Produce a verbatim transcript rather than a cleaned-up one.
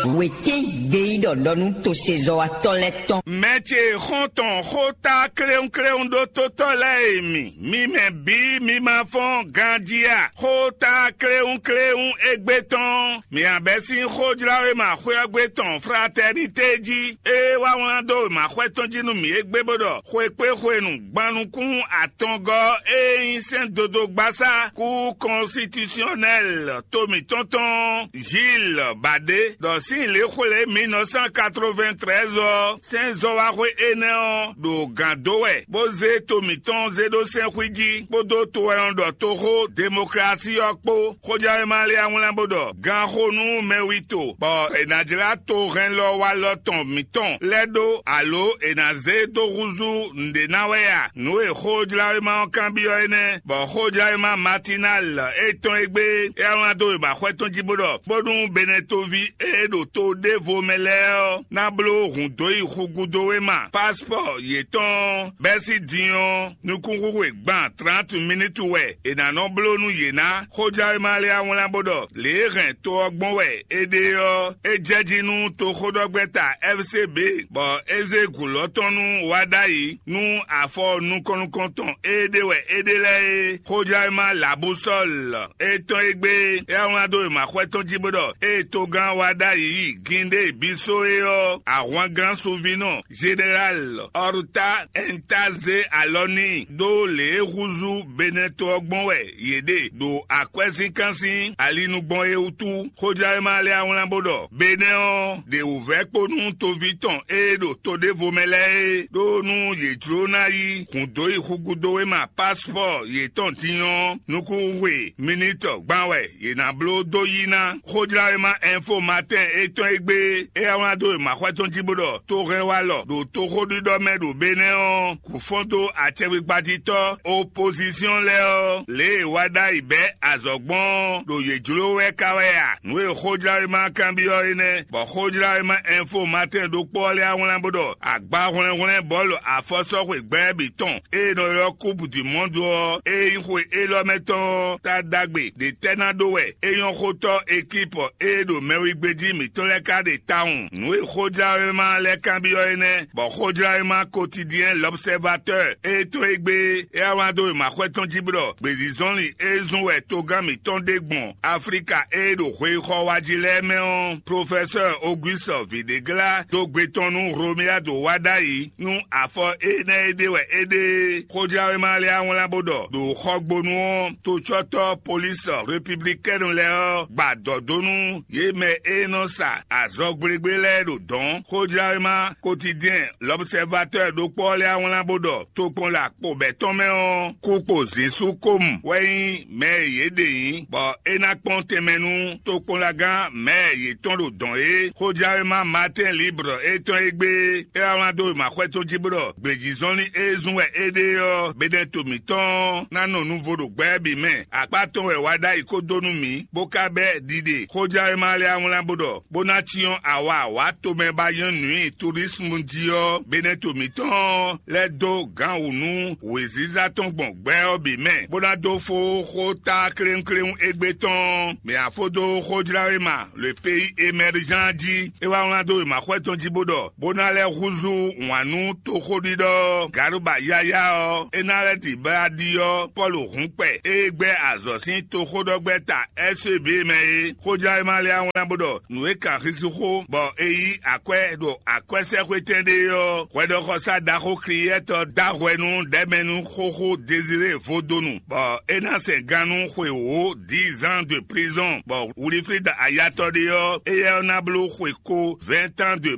Wětín gbeyíɖɔ ɖɔ nú tosezɔ́watɔ́ lɛ́ɛ tɔn. Mɛ ce xɔ́ntɔn xóta kléwúnkléwún ɖó tótɔ́ lɛ́ɛ e mi, mi mɛ bǐ mi ma fɔ́n ganjí a? Xóta kléwúnkléwún égbé tɔn, mi abɛ́ sín xójláwéma xwé ɔ́ gbé tɔn Fraternité jí, é wá wlán dó wěmaxwɛ tɔn jí nú mǐ égbé bó ɖɔ xwekpéxwenu gban nukún atɔngɔ́ e nyí sɛ́n dodó gbasá kú kɔnsitisiɔnɛl to mǐtɔn tɔn Gilles Badé ɖɔ sín lě xwlé mil neuf cent quatre-vingt-treize ɔ́, sɛ́n zɔ́waxwé énɛ́ ɔ́ ɖo gǎn dó wɛ, bó zé to mǐtɔn zé ɖó sɛ́nxwí jí, kpódó to e nɔ ɖɔ toxó demoklási ɔ́ kpó. Xójɛwéma lɛ́ɛ wlán bó ɖɔ ganxó nú mɛwito, bɔ è nǎ jlá tohɛnlɔwalɔ tɔn mǐtɔn lɛ́ɛ ɖó, alo è nǎ zé dó húzú nǔɖé ná wɛ a? Nǔ e xójláwéma ɔ́ kanbyɔ́ é nɛ́, bɔ xójláwéma Matinal étɔn e gbé é wlán dó wěmaxwɛ tɔn jí bó ɖɔ, bónú Benɛtoví e ɖo to ɖěvo mɛ lɛ́ɛ ɔ́ ná bló hǔn dó yi xu gúdo wéma, paspɔ́ yětɔn ɔ́, bɛ́ sín din ɔ́, nukúnxwixwe gban trǎntu minútu wɛ è nǎ nɔ bló nú yě ná. Xójɛwéma lɛ́ɛ wlán bó ɖɔ lě e hɛn to ɔ́ gbɔn wɛ é ɖe ɔ́, é jɛ jí nú toxóɖɔgbɛ́ta F C B, bɔ é zé gǔlɔ tɔn nú wá ɖ'ayǐ nú afɔ nukɔn nukɔn tɔn e ɖe wɛ é ɖe lɛ́ɛ é. Xójɛwéma Labusɔ́l étɔn e gbé é wlán dó wěmaxwɛ tɔn jí bó ɖɔ ée togán wá ɖ'ayǐ yi Gíndé Bisó é ɔ́, ahwangán suvinɔ Zeɖeláli Ɔrutá ɛnta zé alɔ n'i ɖó lě e húzú Benɛto ɔ́ gbɔn wɛ yě ɖe ɖo akwɛ́zínkan sín ali nu gbɔn é wútu. Xójɛwéma lɛ́ɛ wlán bó ɖɔ Benɛ́ ɔ́ ɖe wǔvɛ́ kpo nú toví tɔn e ɖo to ɖěvo mɛ lɛ́ɛ é, ɖó nú yě jló ná yí hǔn dó yi xúgúdówéma paspɔ́ yětɔn din ɔ́, nukúnxwe minitɔ gban wɛ yě ná bló dó yí ná. Xójláwéma Info Matin étɔn e gbé é wá wlán dó wěmaxwɛ tɔn jí bó ɖɔ tohɛnwalɔ ɖo toxóɖiɖɔ mɛ ɖo Benɛ́ ɔ́, kǔ fɔ́n dó acɛkpikpa jí tɔ́ opozísyɔn lɛ́ɛ ɔ́, lě e wá ɖ'ayǐ bɛ́ azɔ̌ gbɔn ɔ́, ɖo yě jló wɛ ka wɛ a? Nǔ e xójláwéma kanbyɔ́ é nɛ́, bɔ xójláwéma Info Matin ɖokpó ɔ́ lɛ́ɛ wá wlán bó ɖɔ agbahwlɛ́nhwlɛ́n bɔ̌lu afɔsɔ́xwe gbɛ́ bǐ tɔn e è nɔ ylɔ́ Coupe du Monde ɔ́, e nyí xwe élɔ́ mɛ tɔn ɔ́, ta ɖagbe ɖě tɛ́ ná ɖó wɛ é nyɔ́ xótɔ́ ekípɔ e ɖo mɛwígbéjí mǐtɔn lɛ́ɛ ka ɖe tawun. Nǔ e xójláwéma lɛ́ɛ kanbyɔ́ é nɛ́, bɔ xójláwéma Quotidien L'Observateur e tɔn e gbé é wá wlán dó wěmaxwɛ tɔn jí bó ɖɔ gbězízɔ́nlin e zun wɛ togán mǐtɔn ɖe gbɔn Aflíka e ɖo hweyixɔ wa jí lɛ́ɛ mɛ ɔ́, Profɛsɛ́ Ogwísɔ Vǐɖégla dó gbe tɔn nú Romuald wá ɖ'ayǐ nú afɔ énɛ́ e ɖe wɛ é ɖe é. Xójláwéma lɛ́ɛ wá wlán bó ɖɔ ɖo xɔgbónu ɔ́, tocɔ́tɔ́ Polísi Repiblikɛ́nu lɛ́ɛ ɔ́ gba dɔ̌ dó nú yě mɛ e nɔ sa azɔgblégblé lɛ́ɛ ɖo dɔ̌n. Xójláwéma Quotidien L'Observateur ɖokpó ɔ́ lɛ́ɛ wá wlán bó ɖɔ tokpɔnla kpo bɛ̌ tɔn mɛ ɔ́, kú kpo zǐnsú kómu wɛ nyí mɛ e yě ɖe nyǐ, bɔ é ná kpɔ́n tɛnmɛ nú tokpɔnlagán mɛ e yě tɔn ɖo dɔ̌n é. Xójláwéma Matin Libre étɔn e gbé é wá wlán dó wěmaxwɛ tɔn jí bó ɖɔ gbějízɔ́nlin e zun wɛ é ɖe ɔ́, Benɛto mǐtɔn ɔ́ ná nɔ nuvo ɖo gbɛ bǐ mɛ. Akpá tɔn wɛ wá ɖ'ayǐ kó dó nú mǐ, bó ka bɛ́ ɖiɖe. Xójláwéma lɛ́ɛ wá wlán bó ɖɔ bó ná cyɔ́n awa wǎ tomɛ ba nyɔ́ nǔ nyi turísmu jí ɔ́, Benɛto mǐtɔn ɔ́ lɛ́ dó gǎn wǔ nú wěziza tɔn gbɔn gbɛ ɔ́ bǐ mɛ, bó ná dó fó xó ta kléwúnkléwún égbé tɔn. Mǐ ná fó dó xójláwéma Le Pays Émergent jí. É wá wlán dó wěmaxwɛ tɔn jí bó ɖɔ bó ná lɛ́ húzú wǎn nú toxóɖiɖɔ Garuba yáyá ɔ́, é ná lɛ́ ɖi bá ɖi ɔ́, Pɔ́lu hǔn kpɛ e gbɛ́ azɔ̌ sín toxóɖɔgbɛ́ta S E B mɛ é. Xójláwéma lɛ́ɛ wá wlán bó ɖɔ nǔ e kan hísíxó bɔ è yí akwɛ́ ɖo akwɛ́sɛ́xwétɛn ɖé ɔ́, hwɛɖɔxɔsá ɖaxó Kliyɛ́tɔ dó ahwɛ nú ɖɛ̌mɛnú xóxó Dezirée Vodonu, bɔ é ná sɛn gan nú xwe wǒ dix ans de prison, bɔ Wilfrid Ayatɔ ɖé ɔ́, éyɛ́ ɔ́ ná bló xwe ko vingt ans de